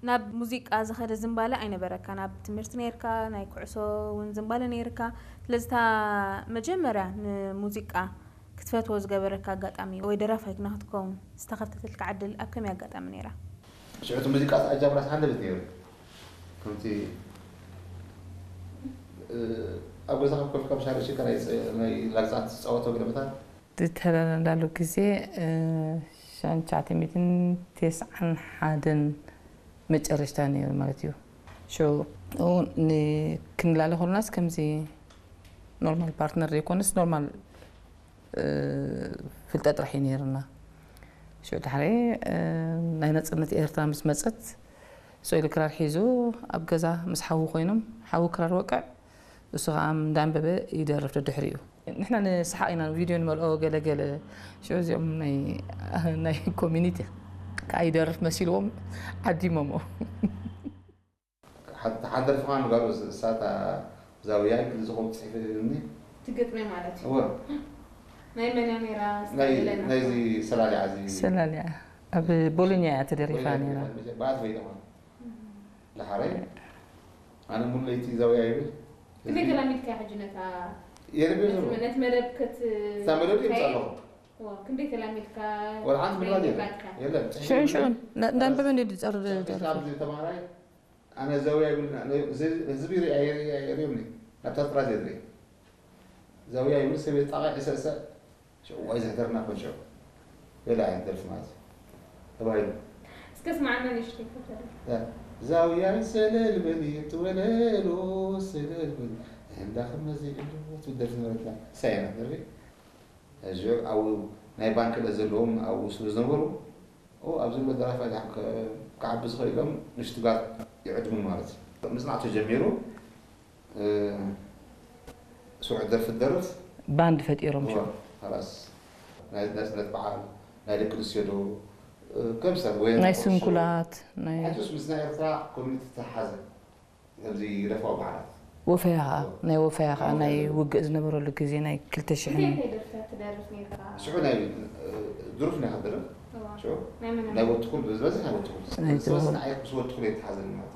ናብ ሙዚቃ ዝኸደ ዝንባለ ኣይነበረካን። ኣብ ትምህርቲ ነይርካ፣ ናይ ኩዕሶ እውን ዝንባለ ነይርካ። ስለዚ እታ መጀመርያ ንሙዚቃ ክትፈትዎ ዝገበረካ ኣጋጣሚ ወይ ደራፋይ ንክትከውን ዝተኸፍተተልካ ዕድል ኣብ ከመይ ኣጋጣሚ ነይራ? ሽዑ እቲ ሙዚቃ ኣጃምራስ ሓንደበት ነይሩ። ከምቲ ኣብ ገዛ ካብ ኮፍካ ብሻርሽካ ናይ ላግፃት ትፃወቶ ግደፈታት ዝተላለናሉ ግዜ ሻንቻዕተ ሚትን ተስዓን ሓደን መጨረሽታ ነይሩ ማለት እዩ። ሽዑ ክንላለ ከለናስ ከምዚ ኖርማል ፓርትነር ዘይኮነስ ኖርማል ፍልጠት ጥራሕ እዩ ነይርና። ሽዑ ድሕሪ ናይ ነፅነት ኤርትራ ምስ መፀት ስኢሉ ክራር ሒዙ ኣብ ገዛ ምስ ሓዉ ኮይኖም ሓዉ ክራር ወቅዕ እሱ ከዓ እንዳንበበ ይደርፍ ደድሕሪኡ። ንሕና ንስሓቕ ኢና ቪድዮ ንመልኦ ገለ ገለ ሽዑ እዚኦም ናይ ናይ ኮሚኒቲ ከዓ ይደርፍ መሲልዎም ዓዲሞሞ። ሓንቲ ደርፊ ከዓ ንጋሩ እሳታ ዛውያይ ክልዝኾም ፅሒፍ እኒ ትግጥመ ማለት እዩ እወ ናይ መን እያ ነይራ ናይ ስታይለና ናይዚ ሰላሊዓ እዚ ሰላሊያ ኣብ ቦሎኛ እያ ተደሪፋ ነይራ። በኣት ፈይዳ ማለት ዳሓረይ ኣነ ሙሉ ለይቲ ዛውያ ይብል ክንደይ ተላሚድካ ሕጂ ነታ የረቤ ዘሎ ነቲ መደብ ከት እታ መደብ ይምፃ ኣለኹ ክንደይ ተላሚድካ ወላ ሓንቲ ምድራ ናይ የለ ምባልካ? የለን ሽዑ ሽዑ እንዳንበበ እንዲ ዝፀርድ ደርፊ ኣብዚ ተማሃራይ ኣነ ዛውያ ይብል ህዝቢ ሪኣ የሪዮምኒ ናብታ ጥራዝ የድሪ ዛውያ ይብል ሰብ የጣቃ ይሰእሰእ ሽዑ ዋይ ዘሕደርና ኮን ሽዑ ገለ ዓይነት ደርፊ ማለት እዩ ተባሂሉ እስከ ስማዕና ንእሽተይ ክተደርፍ ዛውያይ ሰለል በሊ ትወለሎ ሰለል በሊ እንዳ ከመዚ እሉ ትብል ደርፊ ነበረትና ሳይና ደርፊ ሕጂ ኣብኡ ናይ ባንክ ዕለት ዘለዎም ኣብኡ ስለ ዝነበሩ ኦ ኣብዚ ዘሎ ደራፋይ ድሓን ከ- ክዓቢ ዝኽእል ኢሎም ንሽትጋር ይዕድሙን ማለት እዩ ምፅናዕ ተጀሚሩ እ፣ ስሩዕ ደርፊ ትደርፍ ባንድ ፈጢሮም ሽዑ እዋ፣ ኸላስ ናይ ናፅነት በዓል ናይ ደቂ ኣንስትዮ ዶ እ፣ ከም ሰብ ወይ ናይ ስንኩላት ናይ ሕጅስ ምስ ናይ ኤርትራ ኮሚኒቲ ተሓዘ ኣብዚ ይደፋው በዓላት ወፈያ ከዓ ናይ ወፈያ ከዓ ናይ ውግእ ዝነበረሉ ግዜ ናይ ክልተ ሽሕን እንታይ እንታይ ደርፍታት ትደርፍ ነይርካ? ሽዑ ናይ እ፣ ድሩፍ ናይ ከደረፍ ሽዑ ናይ መን ናይ ወትኹል ዝበዝሕ ናይ ወትኹል ናይ ዝበዝሕ ወትኹል። ናይ ምስ ወትኹል የተሓዘ ማለት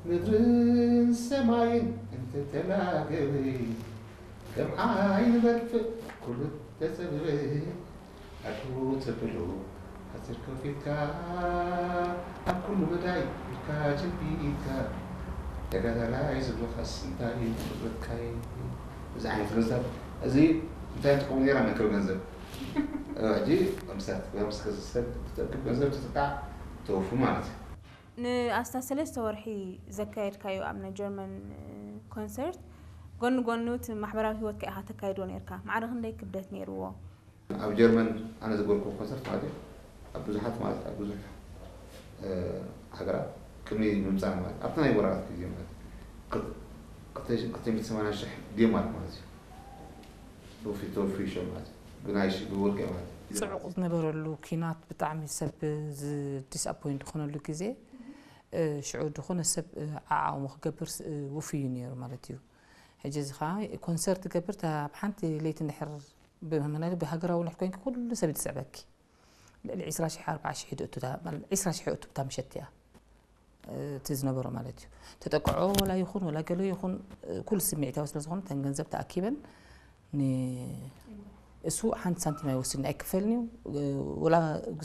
ምድርን ሰማይን እንተተላገበ ከም ዓይኒ በርትዕ ኩሉ ተጸበበ ኣድሩ ተብሎ ሓፂር ከፊትካ ኣብ ኩሉ መዳይ ኢድካ ጀቢድካ ተጋዳላይ ዝብለኻስ እንታይ እዩ ክብረትካይ እዚ ዓይነት ገንዘብ እዚ እንታይ ትቀሙ ነራ መክር ገንዘብ ሕጂ ምሳት ሰብ ትጠቅም ገንዘብ ትጥቃዕ ተወፉ ማለት እዩ ንኣስታት ሰለስተ ወርሒ ዘካየድካዮ ኣብ ናይ ጀርመን ኮንሰርት ጎኒ ጎኑ እቲ ማሕበራዊ ህይወትካ ኢኻ ተካይዶ ነርካ። ማዕረ ክንደይ ክብደት ነይርዎ? ኣብ ጀርመን ኣነ ዝገበርኩ ኮንሰርት ማለት እዩ ኣብ ብዙሓት ማለት ኣብ ብዙሕ ሃገራት ቅድሚ ምምፃእ ማለት ኣብቲ ናይ ወራራት ግዜ ማለት ክልተ ሚእቲ ሰማንያ ሽሕ ዴንማርክ ማለት እዩ ብፊቶ ፍሪሾ ማለት እዩ ብናይ ብወርቂ ማለት እዩ ፅዑቕ ዝነበረሉ ኪናት ብጣዕሚ ሰብ ዲስኣፖይንት ዝኾነሉ ግዜ ሽዑ ዝኾነ ሰብ ዓዓሙ ክገብር ውፍዩ ነይሩ ማለት እዩ ሕጂ እዚ ከዓ ኮንሰርት ገብር ኣብ ሓንቲ ለይቲ እንድሕር ብመናሊ ብሃገራዊ ንሕ ኮይንኪ ኩሉ ሰብ ይትስዕበኪ ልዕሊ ዕስራ ሽሕ ኣርባዓ ሽሕ ድእቱ ዕስራ ሽሕ እቱ ብታ ምሸት እያ እቲ ዝነበሮ ማለት እዩ ተጠቅዖ ወላ ይኹን ወላ ገሎ ይኹን ኩሉ ስምዒታዊ ስለ ዝኾነ ተን ገንዘብ ተኣኪበን እሱ ሓንቲ ሳንቲም ኣይወስድን ኣይክፈልን እዩ ወላ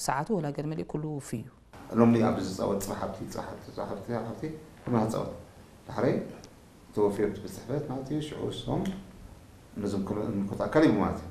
ሰዓቱ ወላ ገለ መሊእ ኩሉ ውፍይ እዩ ሎሚ ኣብዚ ዝፃወት ፅባሕ ሃብቲ ፅባሕ ሃብቲ ፅባሕ ሃብቲ ፅባሕ ሃብቲ ከማ ክፃወት ዳሕረይ ተወፍዮ ብፅሕፈት ማለት እዩ ሽዑ እሶም ነዞም ክምልኮት ኣካል ይቡ ማለት እዩ